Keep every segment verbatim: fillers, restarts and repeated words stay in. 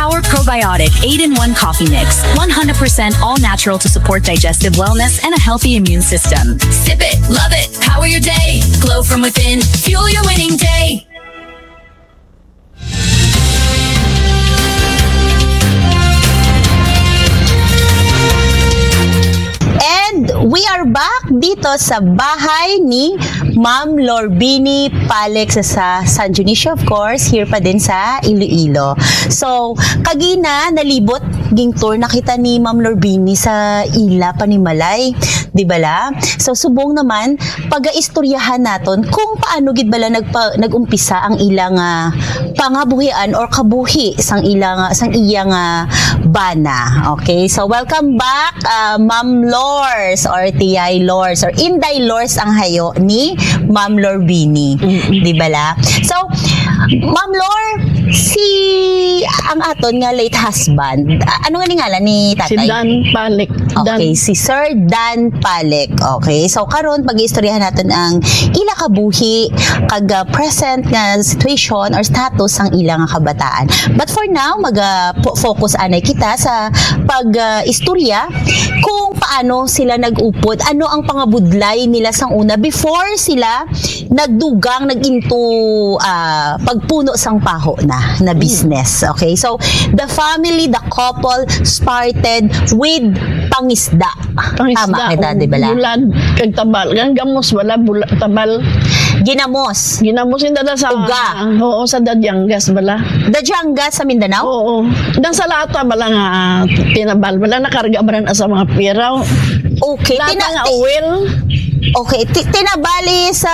Our probiotic eight-in-one coffee mix, one hundred percent all natural to support digestive wellness and a healthy immune system. Sip it, love it, power your day. Glow from within, fuel your winning day. And we are back dito sa bahay ni Ma'am Lorbini Palex sa San Dionisio, of course, here pa din sa Iloilo. So, kagina, nalibot, ging tour na kita ni Ma'am Lorbini sa ila panimalay, di bala? So, subong naman, pagaistoryahan naton kung paano gid bala nagpa-, nag-umpisa ang ila nga pangabuhian or kabuhi sang ila nga, sang iya nga bana. Okay, so welcome back, uh, Ma'am Lors or Tiyay Lors or Inday Lors ang hayo ni Ma'am Lorbini. Mm-mm. Di bala? So, Ma'am Lor, si, ang aton nga late husband, a-, ano nga ni ngalan ni tatay? Si Dan Palik. Okay, si Sir Dan Palik. Okay, so karon pag-iistoryahan naton ang ila kabuhi, kag, ah, present nga situation or status sang ila nga kabataan. But for now, mag, ah, po-, focus anay kita sa pag, ah, istorya kung paano sila nag-upod, ano ang pangabudlay nila sang una before sila nagdugang, nag-into, ah, pagpuno sang paho na, na business. Okay, so the family, the couple started with pangisda. Pangisda, tama kita, di bala? Bulad kag tabal. Ang gamos, wala, bula-, tabal. Ginamos. Ginamos yung dala sa, uga. Oo, sa Dadiangas, bala. Dadiangas sa Mindanao? Oo. Dan sa lata, bala nga, tinabal, bala, nakarga, bala na sa mga piraw. Okay, lata tina-, nga ti-, oil. Okay, ti-, tinabali sa,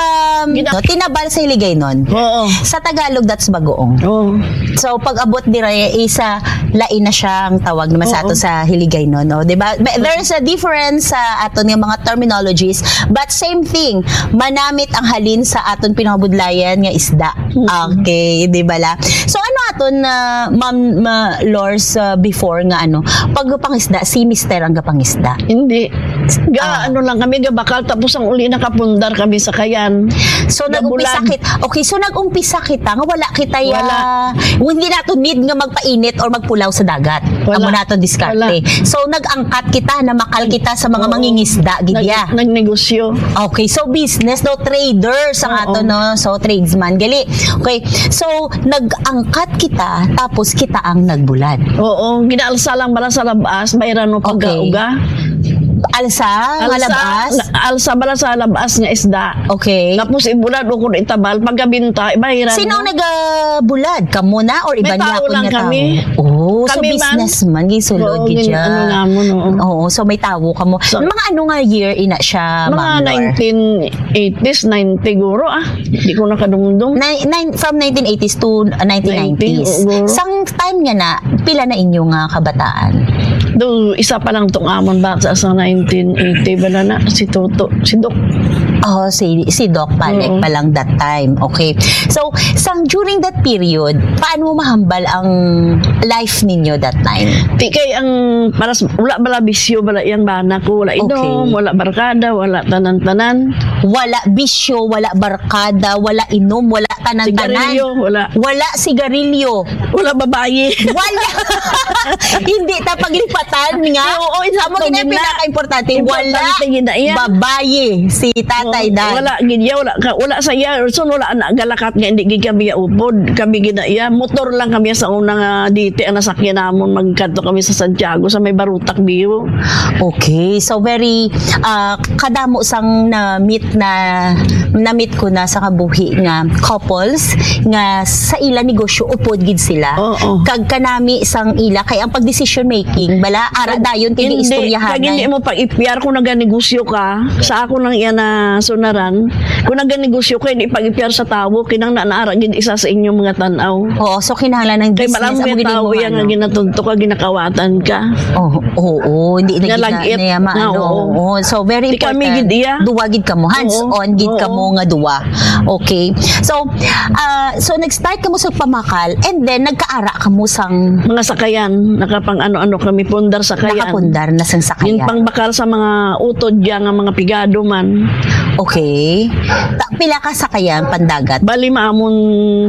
gina- no, tinabal sa Hiligaynon. Oo. Sa Tagalog, that's bagoong. Oo. So, pag abot dira, isa, lain na siya ang tawag naman sa ato sa Hiligaynon, no? Di ba? But there's a difference sa aton nga mga terminologies, but same thing. Manamit ang halin sa aton pinangabudlayan nga isda. Mm. Okay, di ba la? So, ano aton na, Ma'am, ma-, Lors, uh, before nga ano, pagpangisda, si Mister ang gapangisda? Hindi. Ga, ah, ano lang kami, gabakal, tapos ang uli nakapundar kami sa kayan. So, nag-umpisa kit-, okay, so nag-umpisa kita nga wala kita ya, wala. Hindi nato need nga magpainit or magpulaw sa dagat. Wala. Amo nato diskarte. Wala. So, nag-angkat kita, namakal kita sa mga mangingisda, gid ya. Nag-, nagnegosyo. Okay, so business, no? Traders ang ato, no? So, tradesman. Gali. Okay, so, nag-angkat kita, tapos kita ang nagbulad. Oo, ginaalsa lang bala sa labas, bayran mo pagkauga. Alsa nga labas? Alsa bala sa labas nga isda. Okay. Tapos ibulad o kung itabal, pagkabinta, ibahiran mo. Sino nagabulad? Kamo na or iban niya lang kami? Oh, so businessman, gisulod gid siya. Oo, so may tawo kamo. Mga ano nga year ina siya, Ma'am Lor? Mga nineteen eighties, ninety guro, ah. Di ko nakadumdum. Nine, nine, from nineteen eighties to, uh, nineteen nineties. Nineteen, oo. Sang time nga na, pila na inyo nga kabataan? Do, isa pa lang tong amon bata sa nineteen eighty, bala na, si Toto, si Doc. Oh, si, si Doc Palik pa lang that time. Okay. So, sang during that period, paano mo mahambal ang life ninyo that time? Di kay ang, para sa, wala bala bisyo, wala yang bana ko, wala inom, wala barkada, wala tanan-tanan. Wala bisyo, wala barkada, wala inom, wala tanan-tanan. Sigarilyo, wala. Wala sigarilyo. Wala babayi. Wala. Hindi ta paglipatan nga. Amo gid ang pinakaimportante. Wala babayi si Tatay Dan. Wala gid ya, wala ka, wala sa iya, so wala na galakat nga hindi gid kami ya upod. Kami gid na iya. Motor lang kami sa una nga diti ang nasakyan namon, magkadto kami sa Santiago, sa may Barutak View. Okay, so very, ah, kadamo sang na-meet na, na-meet ko na sa kabuhi nga couples nga sa ila negosyo upod gid sila. Oo. Kag kanami sang ila kay ang pag decision making bala ara dayon kay istoryahan. Kag hindi mo pag-ipyar kung naganegosyo ka. Sa ako lang iya na sunaran, kung naganegosyo ka, hindi pag-ipyar sa tawo, kinang na naara gid isa sa inyong mga tan-aw. Oo, so kinahanglan ng business amo gid mo nga ginatunto ka, ginakawatan ka. Oo, oo, hindi na gid na, na maano. Oo, so very important. Duwa gid kamo, hands on gid kamo nga duwa. Okay. So, ah, so nag-start kamo sa pamakal and then nagkaara kamo sang mga sakayan, nakapang ano-ano kami, pundar sakayan. Nakapundar na sang sakayan. Yung pangbakal sa mga utod diya nga mga pigado man. Okay. Ta-, pila ka sakayan pandagat? Bali, maamon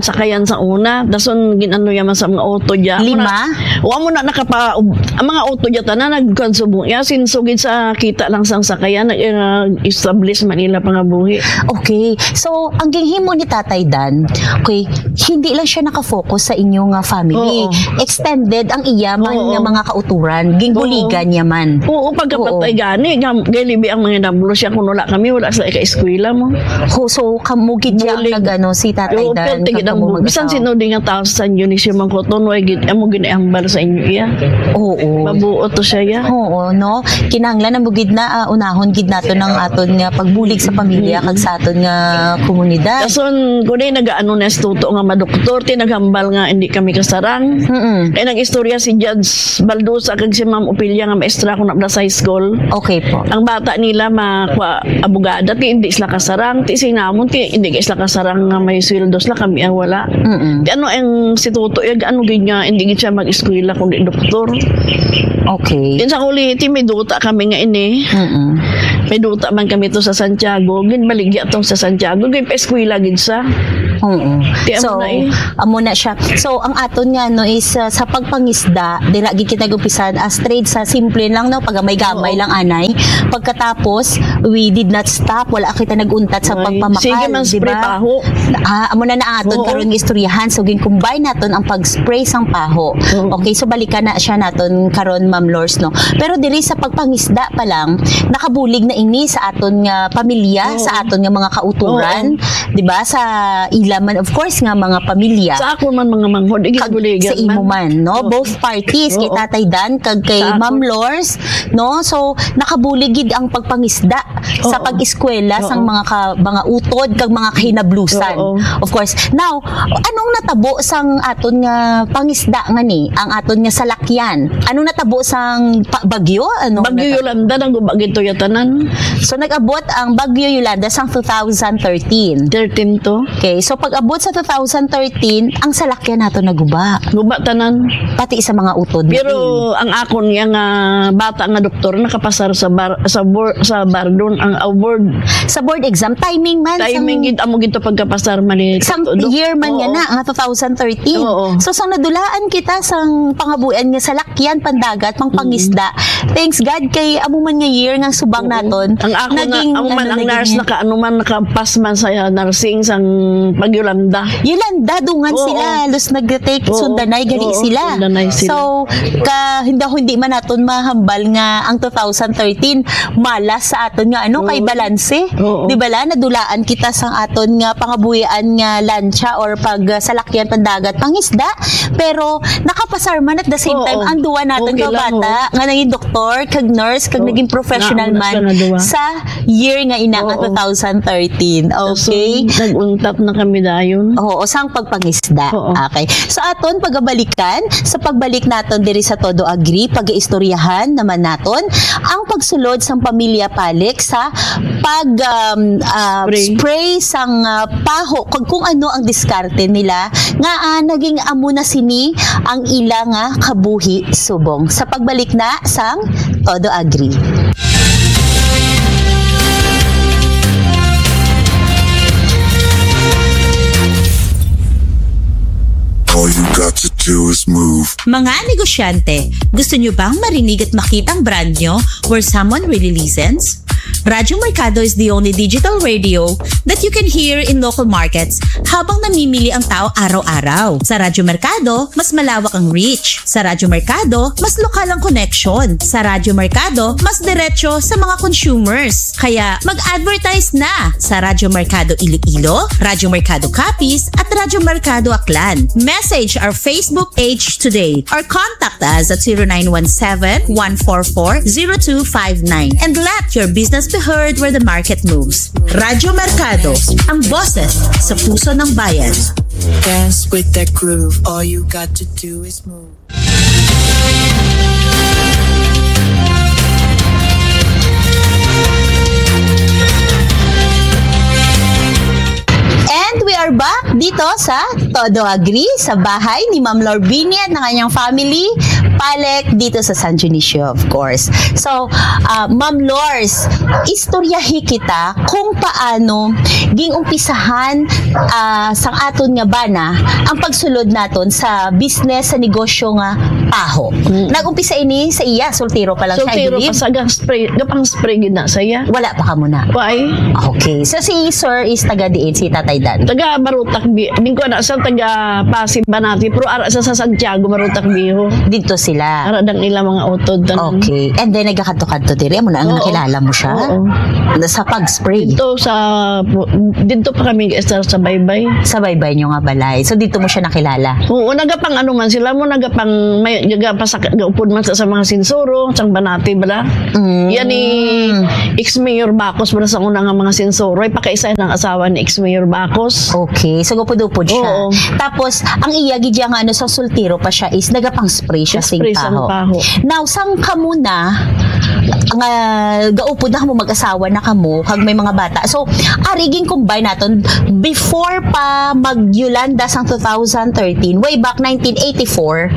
sakayan sa una. Dason, gin-ano yaman sa mga auto dya. Amo na, Lima? Wa mo na nakapa-, ang mga auto dya, tanan, nagkansubong. Ya, sinso gid sa kita lang sang sakayan, nag-, nag-establish man ila pangabuhi. Okay. So, ang ginhimo ni Tatay Dan, okay, hindi lang siya nakafocus sa inyo nga family. Oo. Extended ang iya man Oo. nga mga kauturan. Ginbuligan Oo. niya man. Oo, pagkapatay Oo. gani, gam-, gay libi ang mga nablo siya kung wala kami, wala sa ika-eskwela mo. Ho, so, kamo gid siya ang Bulig. nag-ano, si Tatay Oo, Dan, perti gid ang kamo bu-, bisan mag-asawa. sino di nga tao sa San Dionisio man ko, tono ay gid, amo gid ang hambal sa inyo iya. Oo. Mabuot to siya iya. Oo, no? Kinahanglan na mo gid na, ah, unahon gid nato ng aton nga pagbulig sa pamilya kag sa aton nga komunidad. Dason, kung di nag-ano na si Toto nga madoktor, ti naghambal nga hindi kami kasarang. Mm-mm. Kay nag-istorya si Judge Baldosa kag si Ma'am Opelia nga maestra ko na sa high school. Okay po. Ang bata nila makwa abogada, ti hindi sila kasarang, ti sinamon, ti hindi kay sila kasarang nga may sweldo sila, kami ang wala. Mm-mm. Ti ano ang si Toto, yag ano gid nga, hindi gid siya mag-eskwela kundi doktor. Okay. Din sa kulihi, ti may duta kami nga ini. Mm-mm. May duta man kami to sa Santiago, ginbaligya to sa Santiago, ginpa-eskwela gid sa. Oo. Ti amo So, na eh. amo na siya. So, ang aton nga, no, is, uh, sa pagpangisda, dira gid kita nag-umpisa, as trade sa simple lang, no, pag may gamay Oo. lang anay. Pagkatapos, we did not stop, wala kita nag-untat sa Ay, pagpamakal, sige man, di spray ba? paho. Ah, amo na na aton Oo. karon nga istoryahan. So, gin-combine naton ang pag-spray sang paho. Oo. Okay, so balikan na siya naton karon, Ma'am Lors, no? Pero diri sa pagpangisda pa lang, nakabulig na ini sa aton nga pamilya, Oo. sa aton nga mga kauturan, Oo. di ba? Sa ila man, of course, nga mga pamilya. Sa ako man, mga manghod, Kag igibuligan sa imo man. man, no? Oo. Both parties, kay Oo. Tatay Dan, kag kay Sa ako. Ma'am Lors, no? So, nakabulig gid ang pagpangisda sa Oo. pag-eskwela sang Oo. mga ka-, mga utod kag mga kahinablusan. Oo. Of course. Now, anong natabo sang aton nga pangisda nga ni, ang aton nga salakyan? Anong natabo sang pa-, bagyo? Anong Bagyo natabo? Yolanda, naguba gid to ya tanan. So, nag-abot ang Bagyo Yolanda sang two thousand thirteen. Thirteen to. Okay, so pag-abot sa two thousand thirteen, ang salakyan nato naguba. Guba tanan. Pati sa mga utod Pero natin. ang akon nga, nga bata nga doktor nakapasar sa bar-, sa bor-, sa Bardon ang award. Sa board exam, timing man, Timing sang, gid, amo gid to pagkapasar man ni sang Dok. year man Oo. nga na, nga two thousand thirteen. Oo. So, sang nadulaan kita sang pangabuhian nga salakyan, pandagat, pangpangisda, Mm. thanks God kay amo man nga year nga subang Oo. naton, Ang ako na, naging, amo man ano, ang naging nurse, naka, ano man, nakapas man sa nursing sang pag-Yolanda. Yolanda, dungan Oo. sila. Halos nag-take Oo. sundanay gali Oo, sila. sundanay sila. So, ka, hindi, hindi man naton mahambal nga ang two thousand thirteen, malas sa aton nga, ano, kay Oo. balanse. Oo. Di ba la, nadulaan kita sa aton nga pangabuhian nga lancha or pag, uh, salakyan pandagat, pangisda. Pero nakapasar man at the same Oo. time, ang duwa naton Okay ka lang, bata oo. nga naging doktor, kag nurse, kag Oo. naging professional Nauna man sa naduwa. sa year nga ina nga Oo. two thousand thirteen. Okay? So, nag-untat na kami dayon. Oo, sang pagpangisda. Oo. Okay. So, aton pagabalikan, sa pagbalik naton diri sa Todo Agri, pag-iistoryahan naman naton ang pagsulod sang pamilya Palik sa pag, um, ah, Spray. spray sang, ah, paho, kag kung ano ang diskarte nila nga, ah, naging amo na sini ang ila nga kabuhi subong. Sa pagbalik na sang Todo Agri. All you got to do is move. Mga negosyante, gusto nyo bang marinig at makita ang brand nyo where someone really listens? Radyo Merkado is the only digital radio that you can hear in local markets habang namimili ang tao araw-araw. Sa Radyo Merkado, mas malawak ang reach. Sa Radyo Merkado, mas lokal ang connection. Sa Radyo Merkado, mas diretso sa mga consumers. Kaya mag-advertise na sa Radyo Merkado Iloilo, Radyo Merkado Capiz, at Radyo Merkado Aklan. Message our Facebook page today or contact us at zero nine one seven, one four four, zero two five nine and let your business be heard where the market moves. Radyo Merkado, ang boses sa puso ng bayan. Dance with that groove. All you got to do is move. And we are back dito sa Todo Agri, sa bahay ni Ma'am Lorbini at ng kanyang family. Palek dito sa San Dionisio, of course. So, ah, Ma'am Lors, istoryahi kita kung paano ging-umpisahan, ah, sang aton nga bana ang pagsulod naton sa business, sa negosyo nga paho. Mm. Nag-umpisa ini sa iya, soltero pa lang siya, I Soltero pa believe. sa gang spray, gapang spray gid na sa iya. Wala pa ka muna. Why? Okay. So, si Sir is taga diin, si Tatay Dan? Taga Marutak, Bi-, ning ko na sa taga Pasig, Banati, pero ara sa, sa Santiago, Marutak, Biho. Dito sila. Ara dang ila mga utod, tanan. Okay. And then, nagakadto-kadto diri, amo na ang Oo. nakilala mo siya? Oo. Na sa pag-spray? Dito sa, dito pa kami, sa, sa Baybay. Sa Baybay nyo nga balay. So, dito mo siya nakilala? Oo, nagapang ano man sila mo, nagapang, may, nagapasak-, gaupod man sa, sa mga sinsuro, sang Banati, bala. Mm. Yan ni ex-mayor Bacos, bala, sa una nga mga sinsuro, ay pakaisa ng asawa ni ex-mayor Bacos. Okay, so gupod-upod siya. Oo. Tapos, ang iya gid nga ano, sa soltero pa siya is nagapang-spray siya sing Spray sang paho. paho. Now, sang kamo na, nga gaupod na kamo, mag-asawa na kamo, kag may mga bata. So, ari ging-combine naton, before pa mag-Yolanda sang two thousand thirteen, way back nineteen eighty-four,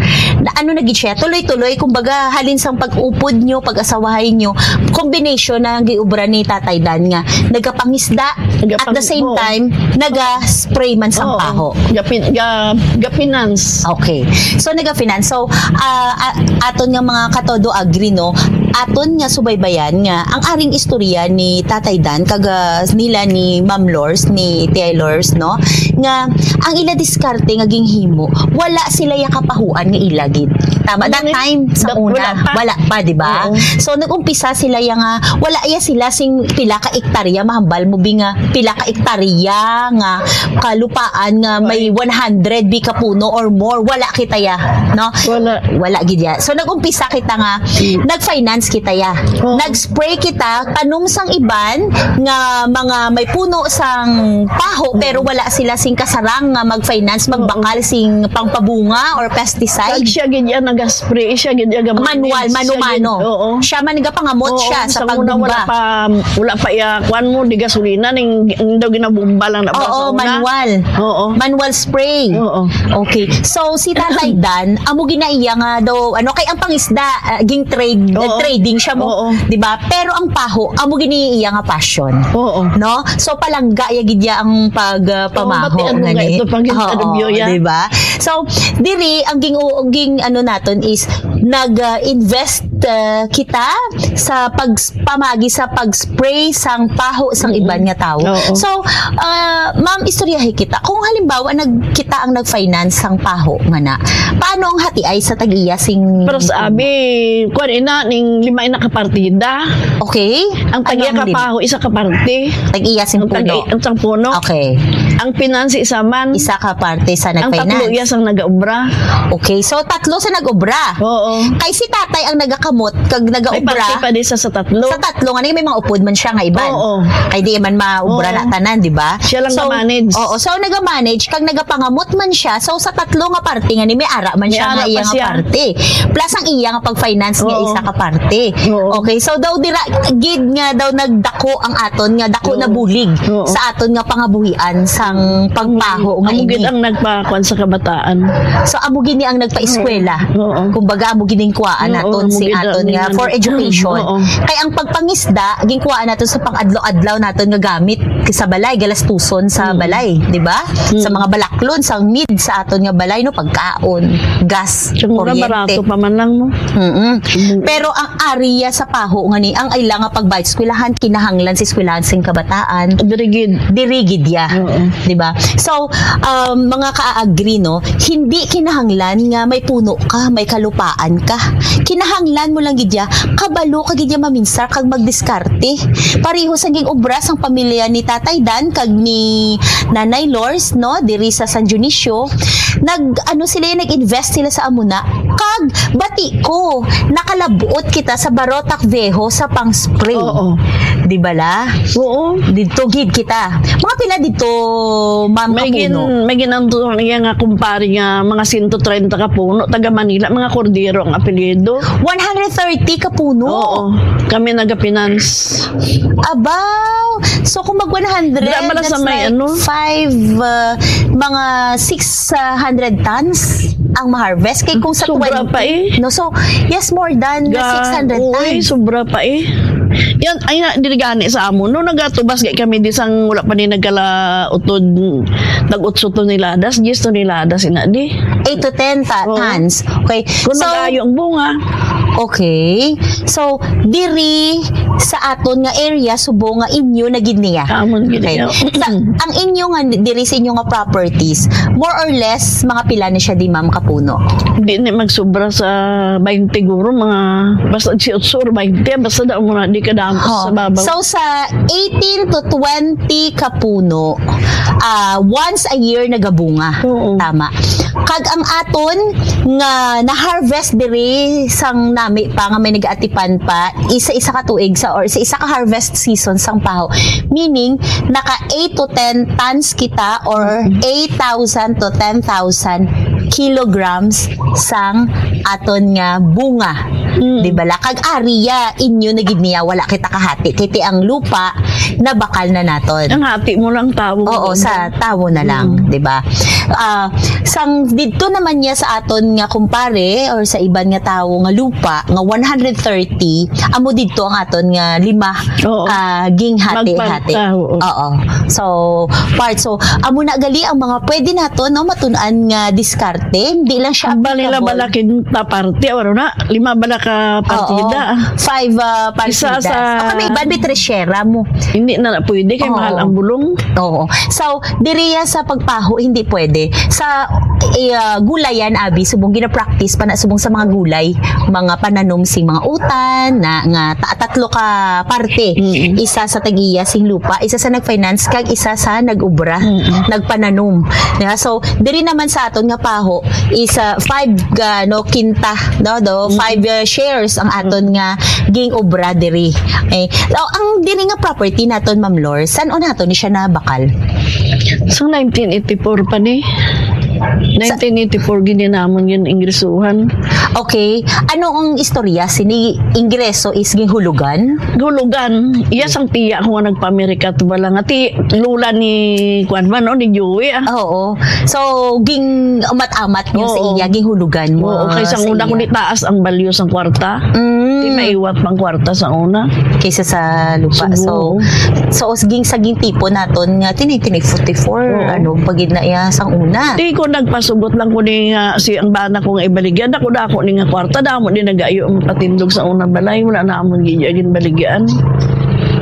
na ano na gid siya, tuloy-tuloy, kumbaga, halin sang pag-upod nyo, pag-asawahay nyo, combination na ang giubra ni Tatay Dan nga nagapangisda, at the Nagapang-, same oo. time, naga-spray man sang Oo. paho. Gapin-, ga-, ga-finance. Okay. So, naga-finance. So, ah, a-, aton nga mga katodo agri, no, aton nga subaybayan nga ang aring istorya ni Tatay Dan, kag, ah, nila ni Ma'am Lors, ni Tia Lors, no, nga ang ila diskarte nga ginhimo, wala sila ya kapahuan nga ila gid. Tama? That Ano ni? time, sa That una, wala pa. wala pa, di ba? Oo. So, nag-umpisa sila ya nga, wala ya sila sing pila ka ektarya, mahambal mo bi nga pila ka ektarya nga kalupaan nga may Ay. one hundred bi ka puno or more, wala kita ya, no? Wala. Wala gid ya. So, nag-umpisa kita nga, Mm. nag-finance kita ya. Oo. Nag-spray kita, tanom sang iban nga mga may puno sang paho, Mm. pero wala sila sing kasarang nga mag-finance, Oo. magbakal sing pangpabunga or pesticide. Kag siya gid ya nag-spray, siya gid ya ga-manage. Manual, Siya mano-mano. gid, oo. Siya man gapangamot Oo, siya sa sa una wala pagdumba. pa, wala pa iya, kuwan mo, di gasolina, ning, ning daw ginabumba lang na ba Oo, sa una? manual. Oo. Manual spray. Oo. Okay. So, si Tatay Dan, amo gid na iya nga daw, ano, kay ang pangisda, ah, ging trade, Oo. nag-trading siya mo, Oo. di ba? Pero ang paho, amo gid ni iya nga passion. Oo. No? So, palangga ya gid ya ang pag, ah, Oo, pamaho batian mo nga nga ni. ito, pag Oo, interview ya. di ba? So, diri, ang ging, ging, ano naton is, nag, ah, invest, ah, kita sa pag, pamagi sa pag-spray sang paho sang Mm-mm. iban nga tawo. Oo. So, ah, ma'am, istoryahi kita. Kung halimbawa, nag, kita ang nag-finance sang paho nga na, paano ang hatiay sa tag-iya sing Pero sa abi, kuwan ina, ning lima ina ka partida. Okay. Ang tag-iya Anong ka lim-, paho, isa ka parte. Tag-iya sing Ang tag-, puno. ang sang puno. Okay. Ang pinansi isa man. Isa ka parte sa Ang tatlo nag-finance. iya sang nag-obra. Okay, so tatlo sa nag-obra. Oo. Kay si tatay ang nagakamot kag May nagaobra. parte pa di sa, sa tatlo. Sa tatlo, nga may mga upod man siya nga iban. Oo. Kay di man maobra Oo. na tanan, di ba? Siya lang So, ga-manage. oo, so naga-manage, kag nagapangamot man siya. So, sa tatlo nga parte nga ni, may ara man May siya ara nga pa iya nga siya. parte. Plus ang iya nga pag-finance nga Oo. isa ka parte. Oo. Okay, so daw dira gid nga daw nagdako ang aton nga dako Oo. na bulig Oo. sa aton nga pangabuhian sang pagpaho nga Amo gid ini. ang nagpakuan sa kabataan. So, amo gid ni ang nagpaeskwela. Oo. Kumbaga, amo gid ning kuwaan Oo, naton amo sing gid aton ang nga ning for ano. education. Oo. Kay ang pagpangisda, ginkuwaan naton sa pang-adlaw-adlaw naton nga gamit sa balay, galastuson sa Mm. balay, di ba? Mm. Sa mga balaklon, sa need sa aton nga balay, no, pagkaon, gas, Tsaka mura, kuryente. barato pa man lang, no? Mm-mm. Mm. Pero ang area sa paho nga ni, ang ila nga pagbayad eskwelahan, kinahanglan sa eskwelahan sing kabataan. Diri gid. Diri gid ya. Oo. Di ba? So, um, mga ka-agri, no, hindi kinahanglan nga may puno ka, may kalupaan ka. Kinahanglan mo lang gid ya, kabalo ka gid ya maminsar kag magdiskarte. Pareho sa ging obra sang pamilya ni Tatay Dan kag ni Nanay Lors, no, diri sa San Dionisio, nag, ano sila, nag-invest sila sa amuna. Kag bati ko, nakalabot kita sa Barotac Viejo sa pang-spray. Oo. Di ba la? Oo. Dito gid kita. Mga pila dito, ma'am, May gin-, kapuno? may ginanto niya nga kumpare nga mga sento treinta ka puno, taga Manila, mga Cordero ang apelyido. One hundred thirty ka puno? Oo. Kami nagafinance. Abaw! So, kung mag one hundred, Dira ba na sa that's may like ano? five, uh, mga six hundred tons? ang ma-harvest. Kay kung sa Sobra twenty, pa eh. No, so, yes, more than Ga-, six hundred oo, eh, tons. Sobra pa eh. Yan, ay na, dili gani sa amo. No, nagatubas gay kami di sang wala pa ni nagkalautod, nag-utso toneladas, diyes toneladas ina di. Eight to ten ta-, Oo. tons. Okay. Kung So, nag-ayo ang bunga. Okay. So, diri sa aton nga area, subong nga inyo na gid niya. Amon gid Okay. niya. Sa, ang inyo nga, diri sa inyo nga properties, more or less, mga pila na siya di, ma'am, kapuno? Di ni magsubra sa twenty guro, mga basta eighteen or twenty, basta daw mo na di kadamo Oo. sa babaw. So, sa eighteen to twenty ka puno, ah, once a year nagabunga. Oo. Tama. Kag ang aton nga na-harvest diri sang nami pa nga may nag-atipan pa, isa-isa ka tuig sa, or sa isa ka harvest season sang paho. Meaning, naka eight to ten tons kita, or eight thousand to ten thousand kilograms sang aton nga bunga. Mm. Di bala? Kag area, inyo na gid niya, wala kita kahati. Kay ti ang lupa, nabakal na naton. Ang hati mo lang tawo. Oo, sa tawo na lang, Mm. di ba? Ah, sang didto naman niya sa aton nga kumpare or sa iban nga tawo nga lupa nga one hundred thirty, amo didto ang aton nga lima Oo. ka ginghati-hati. Magpagta, oo. Oo. So, part. So, amo na gali ang mga pwede nato, no, matun-an nga diskarte. Hindi lang siya Ang balila applicable. bala kinta parte, wala na, lima bala ka Oo. partida. Five, ah, Isa partidas. sa O kami, iban, may tres share mo. Hindi na, na pwede kay Oo. mahal ang bulong. Oo. So, diriya sa pagpaho, hindi pwede. Sa, eh, ah, gulayan, abi, subong gina-practice pa na subong sa mga gulay, mga pananom sing mga utan, na, nga ta-, tatlo ka parte. Mm. Isa sa tag-iya sing lupa, isa sa nag-finance, kag isa sa nag-ubra, Mm. nagpananom. Yeah, so, diri naman sa aton nga paho, is, ah, five, ah, no, kinta, no, do, Mm. five, ah, shares ang aton nga ging-ubra diri. Eh, so, ang diri nga property naton, Ma'am Lor, san-o nato ni siya nabakal? Sa nineteen eighty-four pa ni. Nineteen eighty-four gid namon yun ingresuhan. Okay. Ano ang istorya? Sini ingreso is ginhulugan? Hulugan. Iya sang tiya ko nga nagpa-Amerika to bala nga ti lula ni kuwan man, no, ni Joey, ah. Oo. So, ging amat-amat niyo sa Oo. iya, ginhulugan mo Oo, kay sa sang una ko una. ni taas ang balyo sang kwarta. Mm. Di maiwat pang kwarta sa una. Kaysa sa lupa. Subo. So, so, os-, ging, sa gintipon naton nga, tini, tini, forty-four, Oo. ano, pagid na iya sang una. Di ko nagpasugot lang ko ni nga si ang bana ko nga ibaligya, dako-dako ni nga kwarta, damo ni nagayo ang patindog sa unang balay, wala na amon gid iya ginbaligyaan.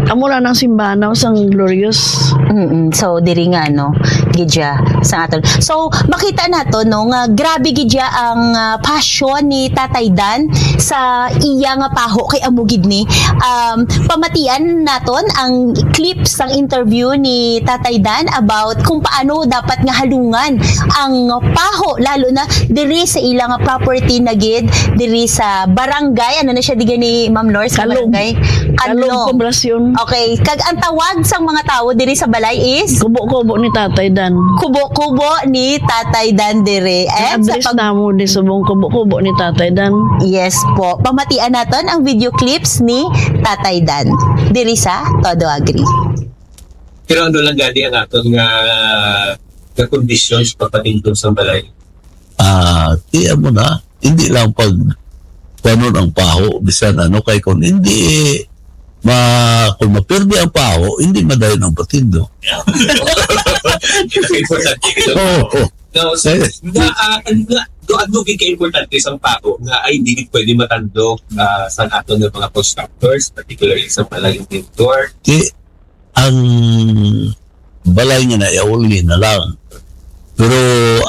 Amo na nang simbanaw sang Glorious. Mm-mm. So, diri nga, no, gid siya sa aton. So, makita nato, no, nga grabe gid siya ang, ah, passion ni Tatay Dan sa iya nga paho kay amo gid ni. Um, pamatian naton ang clip sang interview ni Tatay Dan about kung paano dapat nga halungan ang paho, lalo na diri sa ila nga property na gid, diri sa barangay, ano na siya, di gani, Ma'am Lor, sa Kalog. barangay? Kalog Ano? Poblasyon. Okay, kag ang tawag sang mga tawo diri sa balay is? Kubo-kubo ni Tatay Dan. Kubo-kubo ni Tatay Dan diri. Ang And sa address pag- namo di subong kubo-kubo ni Tatay Dan. Yes po. Pamatian naton ang video clips ni Tatay Dan diri sa Todo Agri. Pero ano lang gani ang aton nga, nga conditions pagpatindog sa balay? Ah, tiyan mo na, hindi lang pag kuwanon ang paho, bisan ano, kay kung hindi, ma-, kung mapirdi ang paho, hindi madayon ang patindog. Importante. Oo. No, so, Eh. na, ah, ano nga, do, ano gid ka importante sa paho nga ay hindi gid pwede matandog, ah, sa aton nga mga constructors, particularly sa mga layong vendor? Di, ang balay nga na, iuli na lang. Pero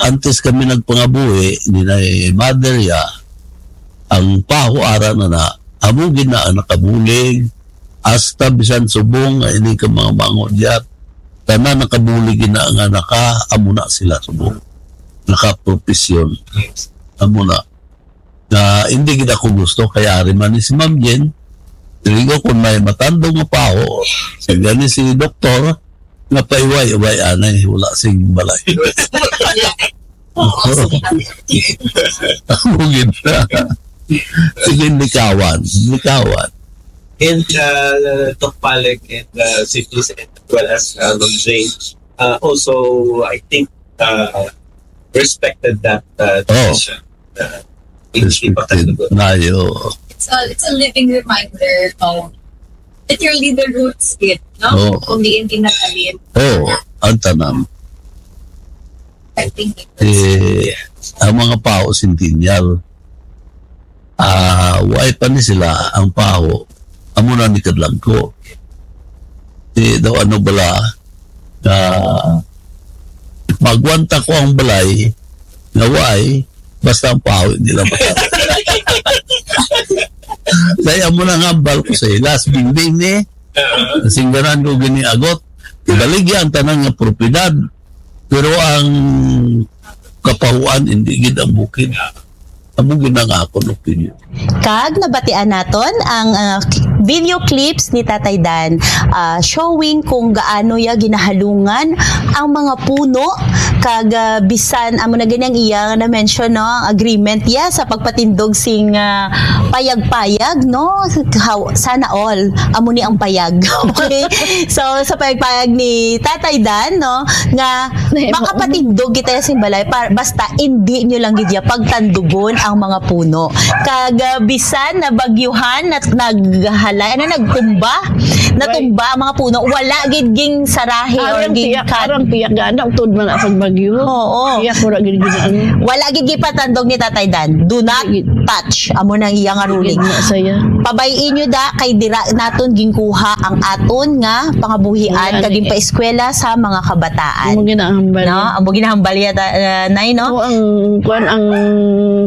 antes kami nagpangabuhi, ni na mother ya, ang paho ara na na, amo gid na ang nakabulig, hasta bisan subong nga ini ka mga mango diya, tanan nakabulig gid na nga naka, amo na sila subong. Nakapropisyon. Amo na. Na hindi gid ako gusto, kay ari man ni si Ma'am Jen, dili ko kung may matandog nga paho, sa gani si doktor, nga paiway-iway anay, wala sing balay. Amo gid na. Sige, likawan, likawan. And, uh, Doc Palek and, uh, Sifis, as well as, uh, Ma'am Jane, uh, also, I think, uh, respected that, uh, Oh. decision. Respected. Nayo. It's a, it's a living reminder of that you're living roots, kid, no? Oo. Kung diin kinakalim. Oo, ang tanan. I think it's Eh, ang mga Pao Centennial, ah, why pa ni sila ang Pao? Amo na ni kadlangko. Di daw ano bala, ah, magwanta ko ang balay, nga why, basta ang Pao, hindi lang basta. Kaya amo na nga, hambal ko sa ilas, binding ni, singganan ko gini agot, baligya ang tanan nga propiedad, pero ang kapahuan, hindi gid ang bukid. Amo gid ang akon opinion. Kag nabatian naton ang, ah, video clips ni Tatay Dan, ah, showing kung gaano ya ginahalungan ang mga puno, kag, ah, bisan amo na gani ang iya na-mention, no, ang agreement ya sa pagpatindog sing, ah, payag-payag, no? How, sana all amo ni ang payag. Okay? So, sa payag-payag ni Tatay Dan, no, nga Nahimo. Makapatindog kita sa balay, pa, basta hindi nyo lang gid ya pagtandugon ang mga puno. Kag, ah, bisan na bagyuhan at naghalay, ano, nagtumba, natumba ang mga puno, wala gid ging sarahi or Arang ging tiyak, cut. Arang tiyak, gana, utod man ang pagbagyo. Oo. Tiyak, wala gid gid ano. Wala gid gipatandog ni Tatay Dan. Do not Gid. touch. Amo nang iya nga ruling. Gid na saya. Pabay-i nyo da, kay dira naton ginkuha ang aton nga pangabuhian Wala kag ni- ginpaeskwela sa mga kabataan. Amo ginahambal No? niya. Amo ginahambal niya, ta-, uh, Nay, no? Oo, ang kuan, ang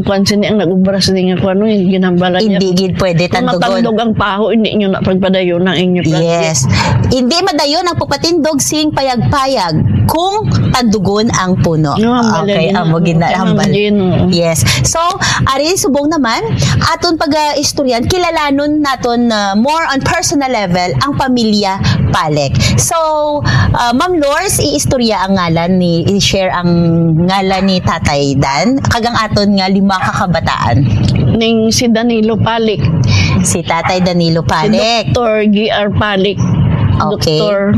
kuan sini ang nag-ubra sini nga kuan, no, yung ginhambalan niya. Hindi gid pwede Kung tandugon. matandog ang paho, hindi nyo na pagpadayon ang inyo project. Yes. Hindi madayon ang pagpatindog sing payag-payag kung tandugon ang puno. No, hambal Okay, niya. amo gina-, Ang hambal. Gino. Yes. So, ari subong naman, aton pag-istoryan, kilalanon naton, uh, more on personal level ang pamilya Palek. So, uh, Ma'am Lors, iistorya ang ngalan ni, i-share ang ngalan ni Tatay Dan, kag ang aton nga lima ka kabataan. Ning si Danilo Palik. Si Tatay Danilo Si Palik. Doktor G R Palik. Okay. Doktor.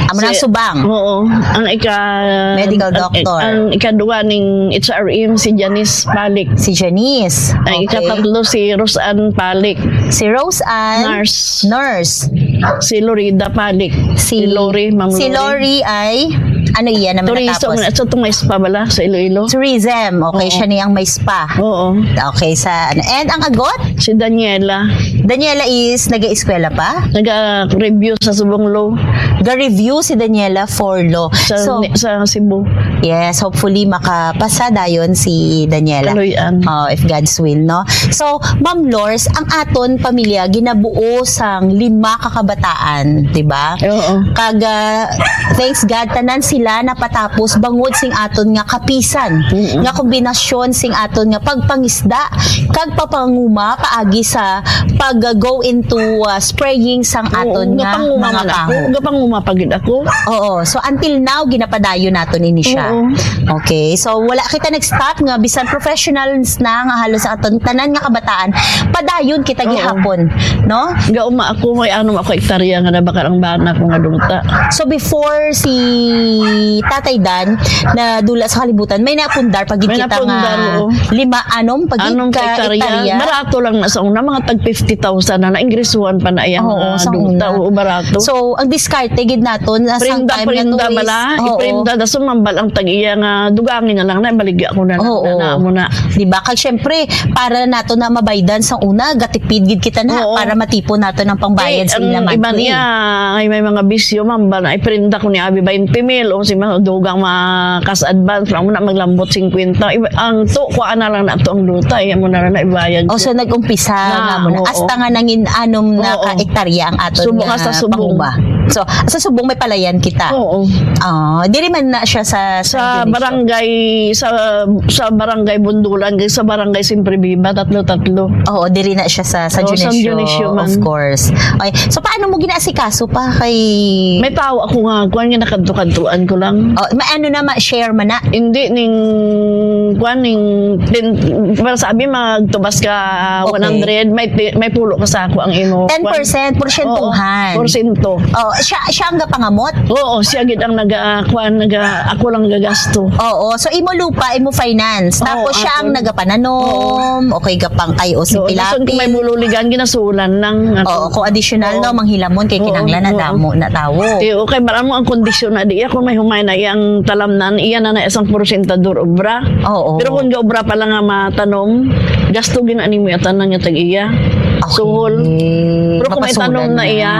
Amo na ang Si subang. Oo. Ang ika-, Medical ang, doctor. ang ikaduha ning H R M, si Janice Palik. Si Janice. Ang Okay. ikatatlo, si Roseanne Palik. Si Roseanne, Nurse. nurse. Si Lorida Palik. Si Si Lori, Ma'am si Lori. Lori ay, ano iya naman Tourism, natapos? na, sa itong may spa bala, sa Iloilo. Tourism. Okay, Oo. siya niyang may spa. Oo. Okay, sa, ano. And ang agot? Si Daniela. Daniela is nag-eskwela pa? Nag-review sa Subong Law. Ga-review si Daniela for law. Sa, So, ni-, sa Cebu. yes, hopefully makapasa dayon si Daniela. Kaloy-an. Oh, if God's will, no? So, Ma'am Lors, ang aton pamilya ginabuo sang lima ka kabataan, di ba? Oo. Kag, ah, thanks God, tanan sila napatapos bangod sing aton nga kapisan, Mm-mm. nga kombinasyon sing aton nga pagpangisda kag papanguma paagi sa pag-go into, ah, spraying sang Oo, aton nga gapanguma mga man ako. kaho. Gapanguma pa gid ako. Oo. So, until now, ginapadayon naton ini siya. Oo. Okay. So, wala kita nag-stop nga bisan professionals na nga halos aton tanan nga kabataan, padayon kita Oo. gihapon, no? Gauma ako, may anom ako hektarya nga nabakal ang bana ko nga duta. So, before si Tatay Dan na dula sa kalibutan, may napundar pag May kita napundar, nga oo. lima, anom pag Anom ka ka hektarya. hektarya. Barato lang na sa una, mga tag fifty thousand na, naingresuhan pa na iyang, Oo, ah, sa duta. una. Oo, barato. So, ang diskarte gid naton, na Prenda, sang time nga prenda tuwis. bala, Oo. iprenda, da sumambal ang tag-iya nga dugangi na lang na, baligya ko na lang Oo. na, na, amo na. Di ba? Kag syempre, para nato na mabaydan sa una, gatipid gid kita na Oo. para matipon nato ng pangbayad Eh, sa ang ilang iban monthly. niya, ay may mga bisyo, mambal na, iprenda ko ni Abi twenty mil, o si mga dugang mga cash advance, amo na maglambot fifty. Iba, ang to, kuha na lang na to ang duta, eh, amo na lang na ibayad Oh, ko. so nag-umpisa Na, nga mo na. oo. Hasta nga nangin anom na Oo. ka hektarya ang aton Subong, nga hasta subong. panguma. So, sa subong may palayan kita. Oo. Ah, diri man na siya sa Sa San Dionisio. barangay, sa, sa barangay Bundulan, kag sa barangay Siempre Viva, tatlo-tatlo. Oo, diri na siya sa San Oo, San Dionisio, Dionisio man. of course. Okay. So, paano mo ginaasikaso pa kay May tao ako nga, kuwan nga nakadto-kadtuan ko lang. Oh, ma-, ano na, ma-share man na? Hindi, ning, kuwan, ning, ten, para sa abi, magtubas ka, ah, Okay. one hundred, may ti-, may pulo ka sa ako ang imo, Ten percent, kuwan. Porsyentuhan. Oo, porsento. Oh, Siya, siya ang gapangamot? Oo, siya gid ang naga-, kuan, naga-, ako lang gagasto. Oo, so imo lupa, imo finance. Oo, Tapos siya ang ako. nagapananom, okay, gapangkay o si Oo, nasod ko may pilapi. bululigan, ginasulan lang ako. Oo, kung additional, Oo. no, manghilamon kay Oo, kinahanglan na oo. damo na tawo. Eh, okay, maramo ang kondisyon na di ako may humay na iyang talamnan, iya na na isang porsyentador obra. Oo. Pero kung gaobra pa lang nga matanom, gasto gina nimo yung tanan nga tag-iya. Okay. Suhol. Pero kung may Mapasulan tanom na na. iya.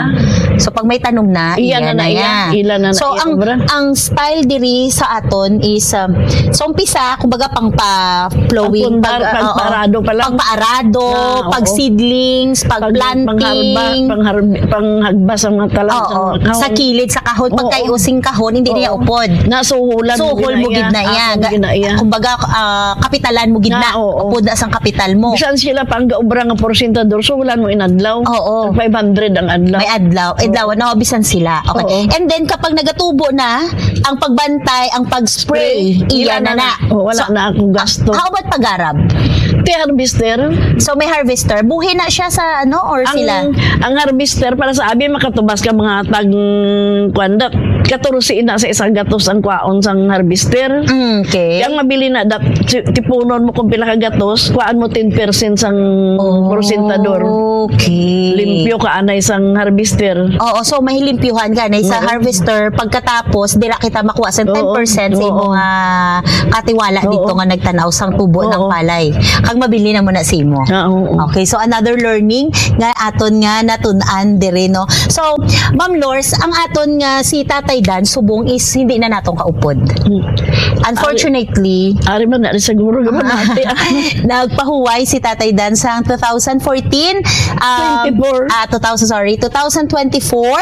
So, pag may tanom na, Iya iya na na na iya. iya. Ila na na So, iya ang, obra. ang style diri sa aton is, um, so, umpisa, kumbaga, pang pa-flowing, Ang pundar, pag, ah, oo. pagpaarado pa lang. Pagpaarado, Ah, oo. pag-seedlings, Pag, pag-planting. pangharba-, pangharb-, panghagba sa mga talang, Oo. sa mga kahon. Sa kilid, sa kahon, Oo. pagkaiusing kahon, hindi niya Oo. upod. Nasuhulan mo Suhol gid mo na gid iya. na iya. Ako Ga-, gid na iya. kumbaga, ah, kapitalan mo gid Na, na. oo. Upod na sang kapital mo. Bisan sila pa ang gaobra nga porsyentador, suhulan mo in adlaw. Oo. Tag five hundred ang adlaw. May adlaw. Oo. Adlaw, no, bisan sila. Okay. Oo. And then, kapag nagatubo na, ang pagbantay, ang pag-spray, Spray. iya Ila na na na. na. Oo, wala So, na akong gasto. how about pag-arab? Ti harvester. So, may harvester. Buhi na siya sa, ano, or Ang, sila? ang harvester, para sa abi, makatubas ka mga tag, kuwan da, katorse na sa isang gatos ang kwaon sang harvester. Mm, okay. Kaya ang mabili na, dat-, ti-, tipunon mo kung pila ka gatos, kuhaan mo ten percent sang Oh, porsyentador. okay. Limpyo ka anay sang harvester. Oo, so mahilimpyuhan ka na sa Oo. harvester. Pagkatapos, dira kita makuha sa Oo. ten percent sa Oo. imong, ah, katiwala Oo. dito nga nagtanaw sang tubo ng Oo. palay. Kag mabili na mo na sa imo. Ah, oo. Okay, so another learning nga aton nga natun-an diri, no? So, Ma'am Lors, ang aton nga si Tatay Dan subong is hindi na naton kaupod. Hmm. Unfortunately, Ari man na rin siguro yung mati. nagpahuway si Tatay Dan sang two thousand fourteen, um, Twenty-four. ah, two thousand, sorry, two thousand twenty-four,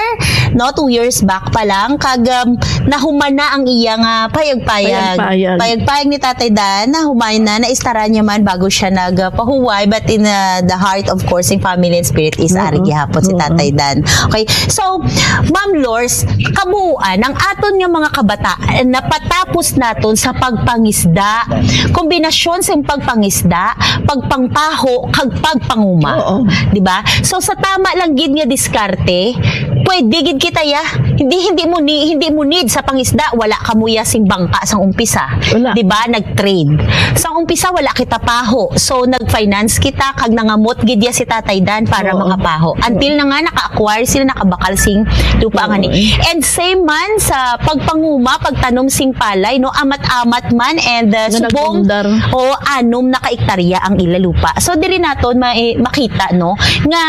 no, two years back pa lang, kag, um, nahuman na ang iya nga payag-payag. Payag-payag. Payag-payag ni Tatay Dan, nahuman na, naistaran niya man bago siya nagpahuway, but in, uh, the heart, of course, in family and spirit is Oo. ari gihapon si Oo. Tatay Dan. Okay, so, Ma'am Lors, kabuuan, ang aton nga mga kabataan, napatapos naton sa pagpangisda, kombinasyon sa pagpangisda, pagpangpaho, kag pagpanguma. Oo. Di ba? So, sa tama lang gid nga diskarte, pwede gid kita ya. Hindi, hindi mo ni, hindi mo need sa pangisda, wala ka mo ya sing bangka sang umpisa. Wala. Di ba? Nag-trade. Sang umpisa, wala kita paho. So, nag-finance kita, kag nangamot gid ya si Tatay Dan para Oo. mga paho. Until na nga, naka-acquire sila, nakabakal sing lupa Oo. nga ni. And same man sa pagpanguma, pagtanom sing palay, no? Amat-amat man, and, uh, Nga subong, nagpundar. o anom na ka ektarya ang ila lupa. So, diri naton ma-, makita, no, nga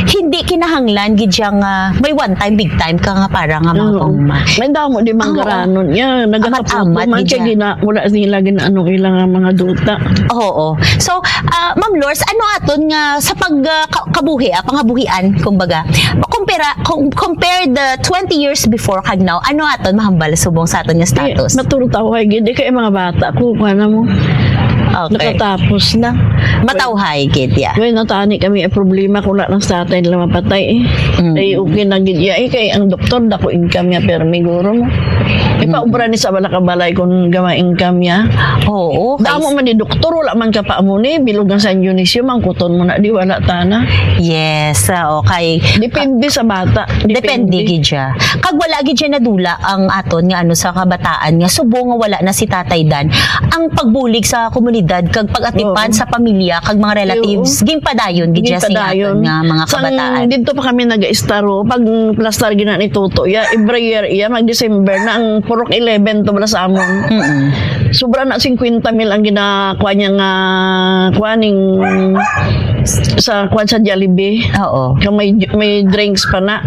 hindi kinahanglan gid siya nga may one time, big time ka nga para nga mga Oo. panguma. May damo di Oo. manggaranon. Yeah, nagkakaputo Amat-amat man gid siya siya. gina-, wala nila ginaano ila nga mga duta. Oo. So, ah, Ma'am Lors, ano aton nga sa pag, ah, ka-, kabuhi, ah, pangabuhian, kumbaga, kumpara, kung compare the twenty years before kag now, ano aton mahambal subong sa aton nga Di, status? matulog ako kay gid, di kay mga bata ko, kuha na mo. Okay. Nakatapos na. Matawhay gid, yeah. Well, natani kami ang problema kung wala nang sa atin nila mapatay eh. Mm. Ay, okay na gid, yeah, eh, kay ang doktor, dako income niya, pero may guro mo. Ipaubra ni sa wala ka balay kung gama income niya. Oo, Damo kay man ni doktor, wala man ka pa amo ni, bilog ang San Dionisio, mangkuton mo na, di wala tana. Yes, ah, okay. Depende sa bata. Depende Depende. gid siya. Kag wala gid siya nadula ang aton nga ano sa kabataan nga subong nga wala na si Tatay Dan. Ang pagbulig sa komunidad kag pag-atipan Oo. sa pamilya kag mga relatives, Oo. ginpadayon gid siya sa Ginpadayon. aton nga mga Sang kabataan. dito pa kami nag-istaro, pag plastar gina ni Toto, ya, every year, iya, mag December na ang purok eleven to bala sa amon. Mm-mm. Sobra na singkwenta mil ang ginakuha niya nga, kuha ning sa, kuha sa Jollibee. Oo. Kung may, may drinks pa na.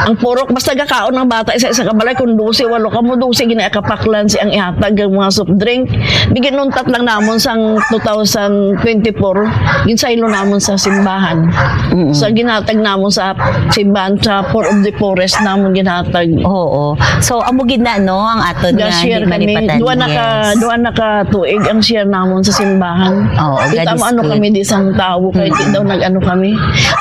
Ang purok, basta gakaon ng bata, isa-isa ka balay, kung dose, walo ka mo, dose, gina-, kapaklan si ang ihatag ang mga soft drink. Di ginuntat lang namon sang two thousand twenty-four, ginsaylo namon sa simbahan. Mm-mm. Sa ginatag namon sa simbahan, sa Four of the Forest namon ginatag. Oo. So, amo gid na, no, ang aton nga Ga-share hindi kami. malipatan. Duha na ka, Yes. duha na ka tuig ang share namon sa simbahan. Oo, Kita mo ano ga-display. kami di sang tawo, kay di Mm. daw nag-ano kami.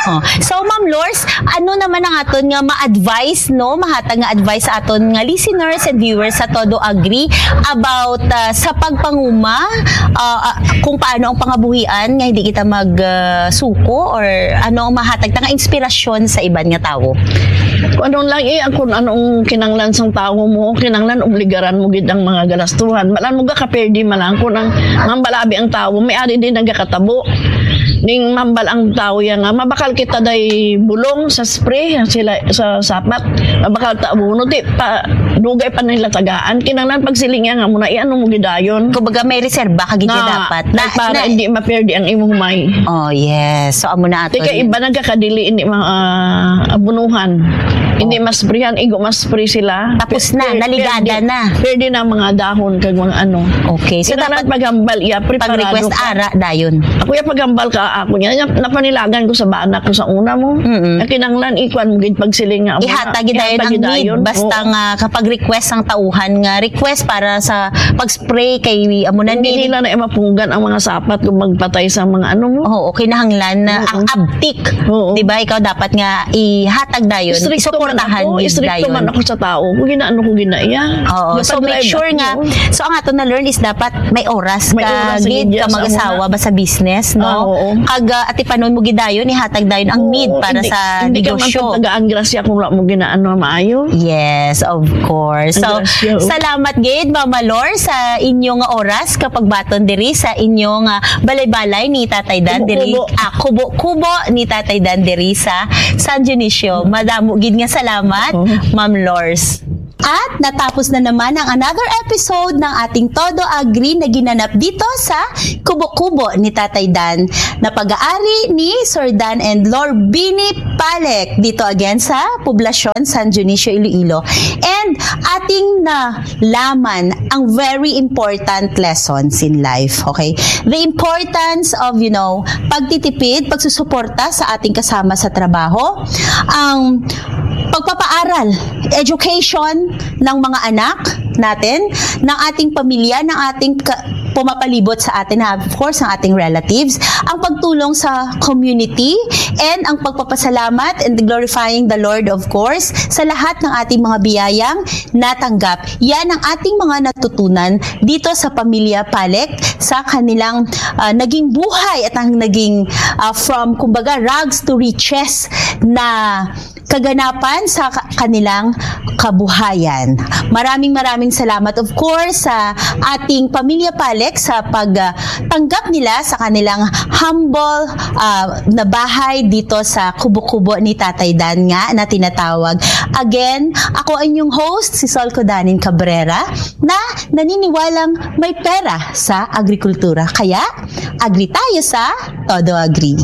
Oh. So, Ma'am Lors, ano naman ang aton nga ma-advise, no? Mahatag nga advice sa aton nga listeners and viewers sa Todo Agri about, ah, sa pagpanguma, ah, ah, kung paano ang pangabuhian nga hindi kita mag, ah, suko, or ano ang mahatag ta nga inspirasyon sa iban nga tawo? Kung ano lang, eh, ang, kung anong kinanglan sang tawo mo, kinanglan obligaran mo gid ang mga galastuhan. Malan mo gakaperde man lang kung ang mambalabi ang tawo, may ari din nagakatabo. Ning mambal ang tawo ya nga, mabakal kita day bulong sa spray, sila sa sapat. Mabakal ta, "Uno, di pa, dugay pa nila tagaan." Kinanglan pagsiling ya nga mo na, eh, ano mo gidayon? Kumbaga, may reserba ka gid Na, dapat. Na, para na hindi maperde ang imong humay. Oh, yes. So, amo na ato Di kay ni iba nagkakadili, hindi ma-, ah, abunuhan. Hindi Oh. masprihan, igo maspray sila. Tapos na, Per-, naligada perde, na. perde na ang mga dahon kag mga ano. Okay. So, Kinahanglan dapat paghambal, iya, preparado pag-request ka. ara dayon. Ako iya paghambal ka, ako niya, niya, napanilagan ko sa bana ko sa una mo. Mm-mm. Nga kinahanglan, ikuan mo gid pagsiling nga, amo na, Ihatag gid dayon ihatag ang gid need. dayon. Basta Oo. nga kapag request ang tauhan nga request para sa pag-spray kay amo na Hindi ni nila na mapunggan ang mga sapat kung magpatay sa mga ano mo. Oo, kinahanglan na Oo. ang abtik. Oo. Di ba? Ikaw dapat nga ihatag dayon, Istrikto man isuportahan ako, gid istrikto dayon. man ako sa tao. Kung ginaano ko ginaiya. Oo. So, make Napag-drive sure ako. nga, so ang ato na learn is dapat may oras May ka oras sa gid media, ka sa mag-asawa mga ba sa business, no? Ah, oo. Kag, ah, atipanon mo gid dayon, ihatag dayon ang Oo, need para hindi, sa hindi ka man negosyo. pagtagaan grasya kung wala mo ginaano maayo. Yes, of course. Ang So, grasya, oh. salamat gid, Mama Lor, sa inyong oras kapag baton diri sa inyong, ah, balay-balay ni Tatay Dan diri, Kubo-kubo. ah, kubo-kubo ni Tatay Dan diri sa San Dionisio. Madamo gid nga salamat, Oo. Ma'am Lors. At natapos na naman ang another episode ng ating Todo Agri na ginanap dito sa kubo-kubo ni Tatay Dan, na pag-aari ni Sir Dan and Lor Bini Palek dito again sa Poblacion San Dionisio, Iloilo. And ating nalaman ang very important lessons in life, okay? The importance of, you know, pagtitipid, pagsusuporta sa ating kasama sa trabaho, ang pagpapaaral, education ng mga anak natin, ng ating pamilya, ng ating ka-, pumapalibot sa atin, ha, of course, ang ating relatives, ang pagtulong sa community, and ang pagpapasalamat and glorifying the Lord, of course, sa lahat ng ating mga biyayang natanggap. Yan ang ating mga natutunan dito sa pamilya Palek, sa kanilang, ah, naging buhay at ang naging, ah, from, kumbaga, rags to riches na kaganapan sa ka-, kanilang kabuhayan. Maraming, maraming salamat, of course, sa ating pamilya Palek sa pag, ah, tanggap nila sa kanilang humble, ah, na bahay dito sa kubo-kubo ni Tatay Dan nga na tinatawag. Again, ako ang inyong host, si Sol Codanin Cabrera, na naniniwalang may pera sa agrikultura. Kaya, agri tayo sa Todo Agri.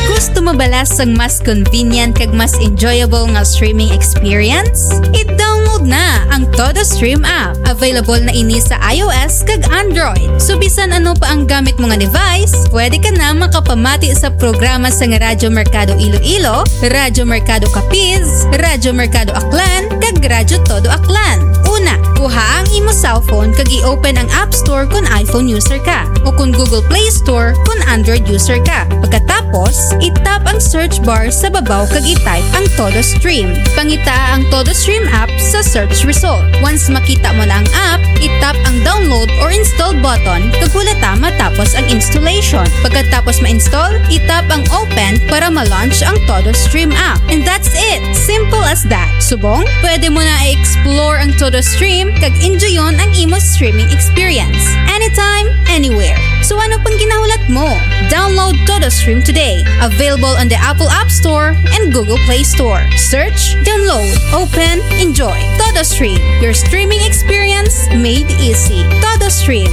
Gusto mo bala sang mas convenient kag mas enjoyable nga streaming experience? I-download na ang Todo Stream app. Available na ini sa iOS kag Android. So, bisan ano pa ang gamit mo nga device, pwede ka na makapamati sa programa sang Radyo Merkado Iloilo, Radyo Merkado Capiz, Radyo Merkado Aklan, kag Radyo Todo Aklan. Una, kuha ang imo cellphone kag i-open ang App Store kon iPhone user ka, o kon Google Play Store kon Android user ka. Pagkatapos, i-tap ang search bar sa babaw kag i-type ang Todo Stream. Pangitaa ang Todo Stream app sa search result. Once makita mo na ang app, i-tap ang download or install button kag hulata matapos ang installation. Pagkatapos ma-install, i-tap ang open para ma-launch ang Todo Stream app. And that's it! Simple as that. Subong, pwede mo na i-explore ang Todo Stream kag enjoyon ang imo streaming experience anytime, anywhere. So ano pang ginahulat mo? Download Todo Stream today. Available on the Apple App Store and Google Play Store. Search, download, open, enjoy. Todo Stream, your streaming experience made easy. Todo Stream.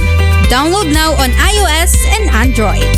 Download now on iOS and Android.